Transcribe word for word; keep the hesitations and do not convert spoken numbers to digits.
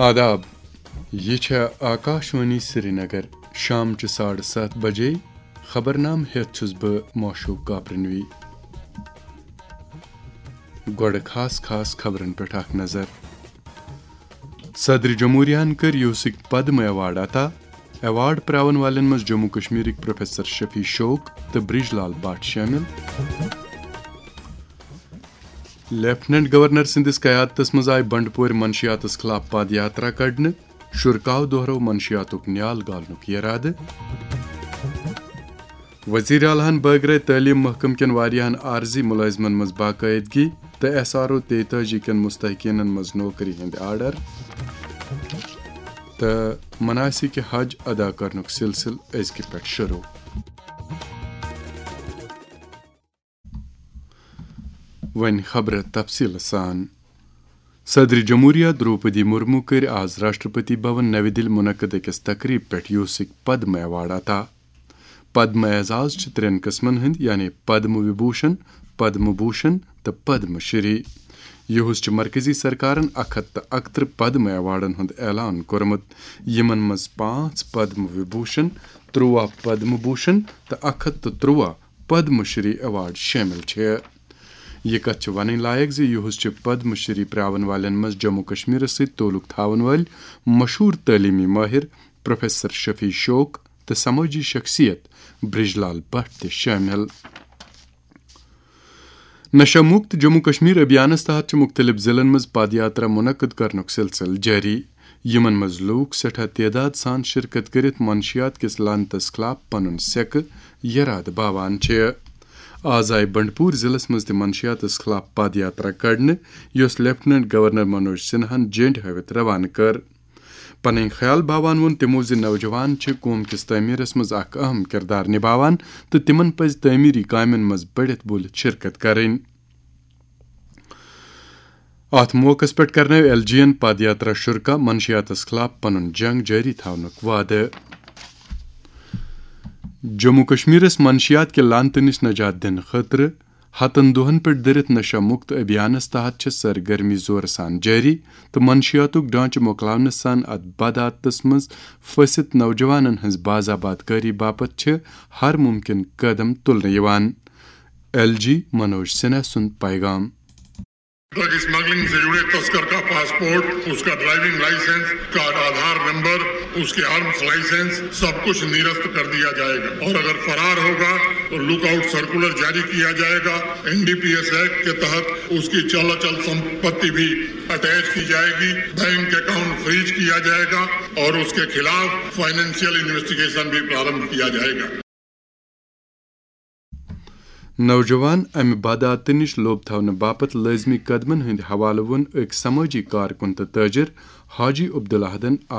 آداب، یہِ چھےٚ آکاشوانی سرینگر۔ شام چہِ ساڑٕ ستھ بجے۔ خبرنامہٕ ہٮ۪تھ چھُس بہٕ معشوق کاپرنوی۔ گۄڈٕ خاص خاص خبرن پٮ۪ٹھ اکھ نظر۔ صدر جمہوریہن کٔر یوسٕکۍ پدم ایوارڈ عطا۔ ایوارڈ پراون والٮ۪ن منٛز جموں کشمیرٕکۍ پروفیسر شفیع شوق تہٕ برج لال بٹ شٲمِل۔ لیفٹیننٹ گورنر سٕنٛدِس قیادتس منٛز آیہِ بنڈپورِ منشیاتس خلاف پد یاترا کڑنہٕ۔ شرکاو دۄہرٲو منشیاتُک نیال گالنُک یرادٕ۔ وزیر اعلیٰ ہن بٲگرٲے تعلیٖم محکمہٕ کٮ۪ن واریاہن عارضی مُلٲزمن منٛز باقٲعدگی تہٕ ایس آر او تیتٲجی کٮ۪ن مستحقینن منٛز نوکری ہٕنٛدۍ آرڈر۔ تہٕ مناسک حج ادا کرنُک سلسلہٕ أزکہِ پٮ۪ٹھ شروع۔ وۄنۍ خبرٕ تفصیٖل سان۔ صدر جمہوریہ دروپدی مرمو کٔرۍ آز راشٹرپتی بھون نوِ دِلہِ منعقد أکِس تقریٖب پٮ۪ٹھ یوسٕکۍ پدم ایوارڈ عطا۔ پدم اعزاز چھِ ترٛٮ۪ن قٕسمن ہٕنٛدۍ، یعنی پدم وبھوشن، پدم بھوشن تہٕ پدم شری۔ یُہُس چھِ مرکزی سرکارن اکھ ہتھ تہٕ اکترٕہ پدم ایوارڈن ہُنٛد اعلان کوٚرمُت، یِمن منٛز پانٛژھ پدم وبھوشن، ترٛواہ پدم بھوشن تہٕ اکھ ہتھ تہٕ ترٛواہ پدم شری ایوارڈ شٲمِل چھِ۔ یہِ کتھ چھِ ونٕنۍ لایق زِ یُہُس چھِ پدم شری پراون والٮ۪ن منٛز جموں کشمیرس سۭتۍ تعلق تھاون وٲلۍ مشہوٗر تعلیمی ماہر پروفیسر شفیع شوق تہٕ سمٲجی شخصیت برج لال بٹ تہِ شٲمِل۔ نشہ مکت جموں کشمیر ابھیانس تحت چھِ مختلف ضلعن منٛز پد یاترا منعقد کرنُک سلسلہٕ جٲری، یِمن منٛز لوٗکھ سٮ۪ٹھاہ تعداد سان شرکت کٔرِتھ منشیات کِس لعنتس خلاف پنُن سٮ۪کہٕ یرادٕ باوان چھِ۔ آز آیہِ بنڈپور ضلعس منٛز تہِ منشیاتس خلاف پد یاترا کڑنہٕ، یۄس لیفٹیننٹ گورنر منوج سنہاہن جنڈ ہٲوِتھ روانہٕ کٔر۔ پنٕنۍ خیال باوان ووٚن تِمو زِ نوجوان چھِ قوم کِس تعمیرس منٛز اکھ اہم کردار نباوان تہٕ تِمن پزِ تعمیری کامٮ۪ن منٛز بٔڑِتھ بُلِتھ شرکت کرٕنۍ۔ اتھ موقعس پٮ۪ٹھ کرنٲو ایل جی ین پد یاترا شرکا منشیاتس خلاف پنُن جنگ جٲری تھاونُک وعدٕ۔ جموں کشمیرس منشیات کہِ لعنتہٕ نِش نجات دِنہٕ خٲطرٕ ہتن دۄہن پٮ۪ٹھ دٔرِتھ نشہ مکت ابھیانس تحت چھِ سرگرمی زورٕ سان جٲری تہٕ منشیاتُک ڈھانچہٕ مۄکلاونہٕ سان اتھ بدعادتس منٛز پھٔسِتھ نوجوانن ہٕنٛز باز آباد کٲری باپتھ چھِ ہر ممکن قدم تُلنہٕ یِوان۔ ایل جی منوج سنہا سُنٛد پیغام۔ ڈرگ اسمگلنگ سے جڑے تسکر کا پاسپورٹ، اس کا ڈرائیونگ لائسنس، اس کا آدھار نمبر، اس کے آرمز لائسنس، سب کچھ نرست کر دیا جائے گا، اور اگر فرار ہوگا تو لک آؤٹ سرکولر جاری کیا جائے گا۔ N D P S act کے تحت اس کی چل اچل سمپتی بھی اٹیچ کی جائے گی، بینک اکاؤنٹ فریز کیا جائے گا اور اس کے خلاف فائنینشیل انویسٹیگیشن بھی پرارمبھ کیا جائے گا۔ نوجوان امہِ بدعاتہٕ نِش لوٚب تھاونہٕ باپتھ لٲزمی قدمن ہٕنٛدِ حوالہٕ ووٚن أکۍ سمٲجی کارکُن تہٕ تٲجر حاجی عبدالاحدن اکھ